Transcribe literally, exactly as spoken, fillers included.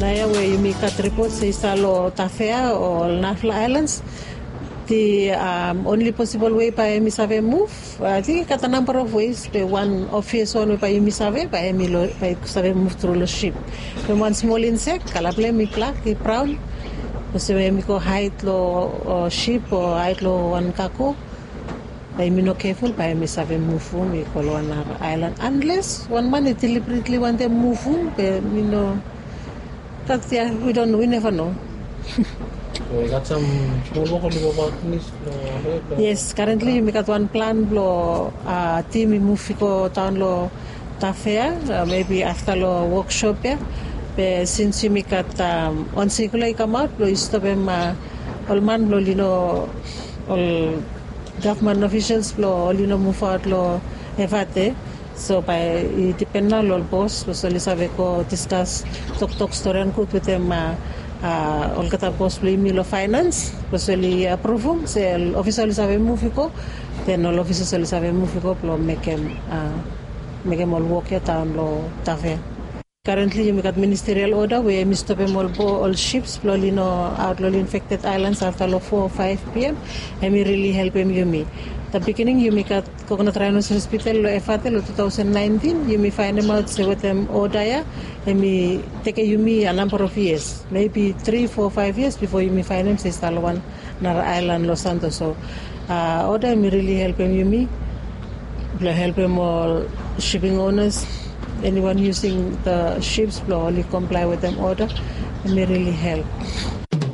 Naoia we yumi gat ripot se i stap long Tafea o ol narafala aelans, the only possible way bae yumi save muv, ating i gat a namba of ways, be wan obvious wan we bae yumi save bae yumi save muv tru long ship. Be wan smol insek, kala blong hem i blak, i braon, olsem we hem i go haed long ship o haed long wan kago, bae yumi no keful bae yumi save muvum i go long wan nara aelan, anles wan man i delibretli wantem muvum, be mi no gat ya, wi don wi neva no. Yes, karentli yumi gat wan plan blong tim i muv i go daon long Tafea, mebi afta long woksop ya. Be sins yumi gat wan sikula i kamaot blong i stopem ol man blong oli no, ol gavman ofisels blong oli no muvaot long Efate. So bae i dipen nao long ol bos, bikos oli save go diskas, toktok storian gud wetem olgeta bos blong yumi long faenans, bikos oli apruvum se ol ofisa oli save muv i go, den ol ofisas oli save muv i go blong mekem mekem ol wok ya daon long Tafea. Karentli yumi gat ministerial oda we yumi stopem ol bo ol ships blong oli no aot long ol infekted aelans afta long four o five pm. Hem i rili helpem yumi. Da bigining yumi gat kokonat raenos hospital long Efate long two thousand nineteen, yumi faenemaot se wetem oda ya hem i tekem yumi a namba of yias, mebi tri fo faef yias bifo yumi faenem se i stap long wan nara aelan long Santo. So oda hem i rili helpem yumi blong helpem ol shiping onas, eniwan yusing da ships blong oli komplae wetem oda, hem i rili help.